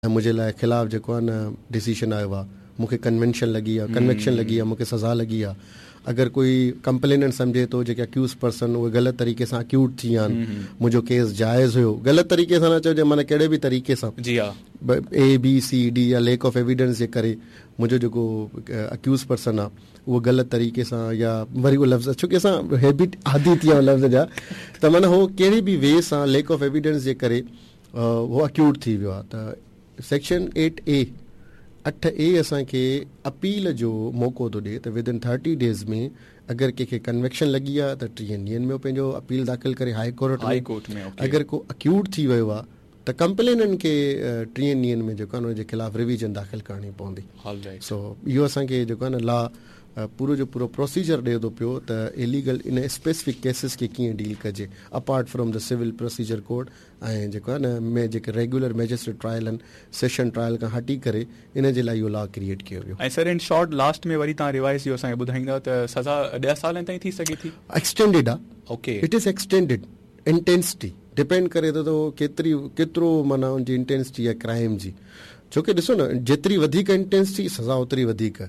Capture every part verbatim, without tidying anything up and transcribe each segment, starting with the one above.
منهنجي لاءِ خلاف جيڪو آهي نه ڊسيزن آيو آهي، مون کي ڪنوينشن لڳي آهي، ڪنوڪشن لڳي آهي، مون کي سزا لڳي آهي. اگر ڪوئي ڪمپليننٽ سمجهي ٿو جيڪي اڪيوز پرسن اهي غلط طريقي سان اڪيوٽ ٿي ويا آهن، منهنجو ڪيس جائز هيو، غلط طريقي سان نه چئجي معنيٰ ڪهڙي به طريقي سان، جي ها، اي بي سي ڊي يا ليڪ آف ايويڊنس جي ڪري منهنجو جيڪو اڪيوز پرسن آهي اهو غلط طريقي سان، يا وري اهو لفظ ڇو ڪه اسان هيبٽ عادي ٿي ويا آهيون لفظ جا، ته معنيٰ هو ڪهڙي به وي سان ليڪ آف ايويڊنس جي ڪري اهو اڪيوٽ ٿي ويو آهي، ته سيڪشن ايٽ اي اٺ اي اسان کي اپيل جو موقعو ٿو ڏئي ته ود ان ٿرٽي ڊيز ۾ اگر ڪنهن کي ڪنوڪشن لڳي آهي ته ٽيهن ڏينهن ۾ پنهنجو اپيل داخل ڪري هاءِ ڪورٽ ۾، اگر ڪو اڪيوٽ ٿي ويو آهي ته ڪمپليننٽ کي ٽيهن ڏينهن ۾ جيڪو آهي ان جي خلاف رويزن داخل ڪرڻي پوندي. سو اهو اسان کي جيڪو آهي نه لا پورو جو پورو پروسيجر ڏئي ٿو پيو ته اليگل ان اسپيسفڪ ڪيسز کي ڪيئن ڊيل ڪجي apart from the civil procedure code ۽ جيڪو آهي نه ۾ جيڪي ريگيولر مئجسٽريٽ ٽرائل آهن سيشن ٽرائل کان هٽي ڪري ان جي لاءِ اهو لا ڪريئيٽ ڪيو ويو. ۽ سر ان شارٽ لاسٽ ۾ وري توهان ريوائز اهو اسان کي ٻڌائيندا ته سزا ڏهه سالن تائين ٿي سگهي ٿي؟ ايڪسٽينڊيڊ آهي. Okay, it is extended intensity depend ڪري ٿو ته اهو ڪيتري ڪيترو معنيٰ ان جي انٽينسٽي آهي ڪرائيم جي، ڇو ڪه ڏسو نه جيتري وڌيڪ انٽينسٽي سزا اوتري وڌيڪ،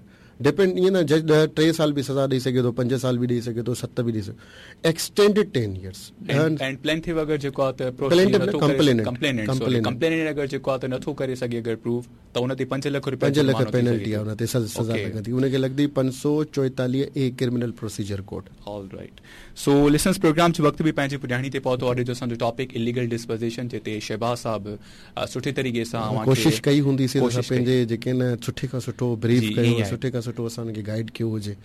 ڊپينڊ ائين نه جج ڏهه ٽي سال به سزا ڏئي سگهي ٿو، پنج سال به ڏئي سگهي ٿو، ست به ڏئي سگهي ٿو، ايڪسٽينڊيڊ ٽين ايئرس. اينڊ پلينٽف اگر جيڪو آهي ته ڪمپليننٽ ڪمپليننٽ اگر جيڪو آهي ته نٿو ڪري سگهي اگر پروف ته ان تي پنج لک رپيا پنج لک پينلٽي آهي، ان تي سزا لڳندي، ان کي لڳندي پنج سؤ چوئيتاليهه A criminal procedure code. All right, so listeners programme جو وقت به پنهنجي پڄاڻي تي پهتو. اڄ جو اسان جو ٽاپڪ اليگل ڊسپوزيشن جتي شهباز صاحب سٺي طريقي سان ڪوشش ڪئي هوندي سي اسان پنهنجي جيڪي نه سٺي کان سٺو بريف ڪيو، سٺي کان سٺو اسان ان کي گائيڊ ڪيو هجي،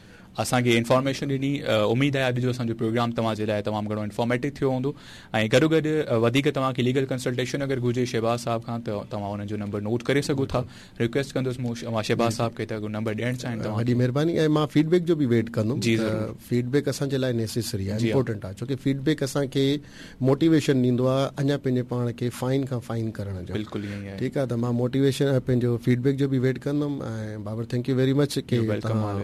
اسان کي انفارميشن ڏني. اميد آهي اڄ جو اسان جو پروگرام توهان جي لاءِ تمام گهڻو انفارميٽو ٿيو هوندو ۽ گڏو گڏ وڌيڪ توهان کي ليگل ڪنسلٽيشن اگر گهرجي شهباز صاحب کان ته توهان انهن جو نمبر نوٽ ڪري سگهو ٿا. رڪويسٽ ڪندس مون مان شهباز صاحب کي ته اگر نمبر ڏيڻ چاهين توهان. وڏي مهرباني. ۽ مان فيڊ بيڪ جو به ويٽ ڪندم. فيڊ بيڪ اسان جي لاءِ نيسيسري آهي، امپورٽنٽ آهي، ڇو ڪه فيڊ بيڪ اسان کي موٽيويشن ڏيندو آهي اڃا پنهنجي پاڻ کي فائن کان فائن ڪرڻ جو. بلڪل ائين ئي آهي. ٺيڪ آهي، ته مان موٽيويشن پنهنجو فيڊ بيڪ جو به ويٽ ڪندم. ۽ Babar thank you very much ڪه توهان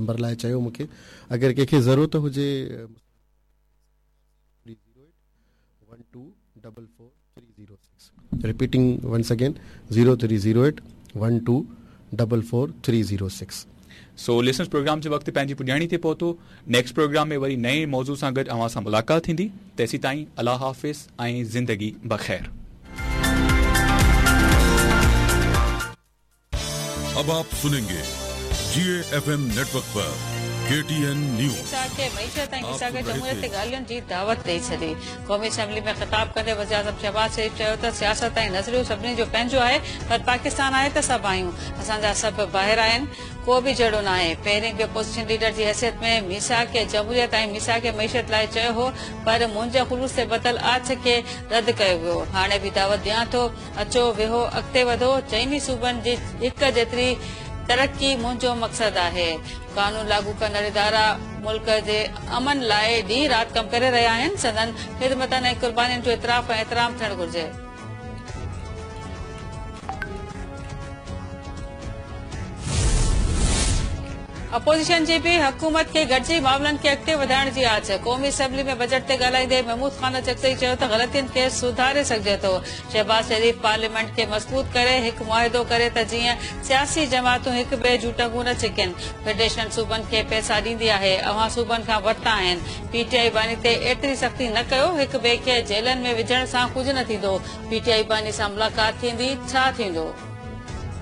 نمبر لاءِ چيو مون کي. اگر ڪنهن کي ضرورت هجي one two double four three zero six, repeating once again zero three zero eight one two double four three zero six. So listeners programme جو وقت پنهنجي پڄاڻي تي پهتو. نيڪسٽ پروگرام ۾ وري نئين موضوع سان گڏ اوهان سان ملاقات ٿيندي. تيسين تائين الله حافظ ۽ زندگي بخير. अब आप सुनेंगे जी एफ एम नेटवर्क पर के टी एन न्यूज़। के मईशत ऐं क़िसाके जमहूरियत ते ॻाल्हियुनि जी दावत ॾेई छॾी। क़ौमी असेंबली में ख़िताब कंदे वज़ीर-आज़म शहबाज शरीफ चयो त सियासत ऐं नज़रियो सभिनी जो पंहिंजो आहे, पर पाकिस्तान आहे त सभु आहियूं, असांजा सभु ॿाहिरि आहिनि, को बि जहिड़ो न आहे। पहिरीं बि अपोज़िशन लीडर जी हैसियत में मीसाक जमहूरियत ऐं मीसाक मईशत लाइ चयो हो, पर मुंहिंजे ख़ुलूस ते ॿधल आछ खे रद्द कयो वियो। हाणे बि दावत ॾियां थो, अचो वेहो, अॻिते वधो। चइनी सूबनि जी हिक जेतिरी तरक़ी मुंहिंजो मक़सदु आहे। कानून लागू कंदड़ इदारा मुल्क जे अमन लाइ ॾींहुं राति कमु करे रहिया आहिनि, संदन ख़िदमतनि ऐं क़ुर्बानियुनि जो इतराफ़ ऐं एतिराम थियणु घुरिजे। अपोज़िशन जी बि हुकूमत खे गॾिजी मामलनि खे अॻिते वधाइण जी आछ। क़ौमी असेंबली में बजट ते ॻाल्हाईंदे महमूद ख़ान अचकज़ई चयो त ग़लतियुनि खे सुधारे सघिजे थो। शहबाज शरीफ पार्लियामेंट खे मज़बूत करे हिकु मुआहिदो करे त जीअं सियासी जमातूं हिक ॿिए जूं टंगूं न छिकनि। फेडरेशन सूबनि खे पैसा ॾींदी आहे, अव्हां सूबनि खां वरिता आहिनि। पीटीआई बानी ते एतिरी सख़्ती न कयो, हिक ॿिए खे जेलनि में विझण सां कुझु न थींदो। पीटीआई बानी सां मुलाक़ात थींदी, छा थींदो?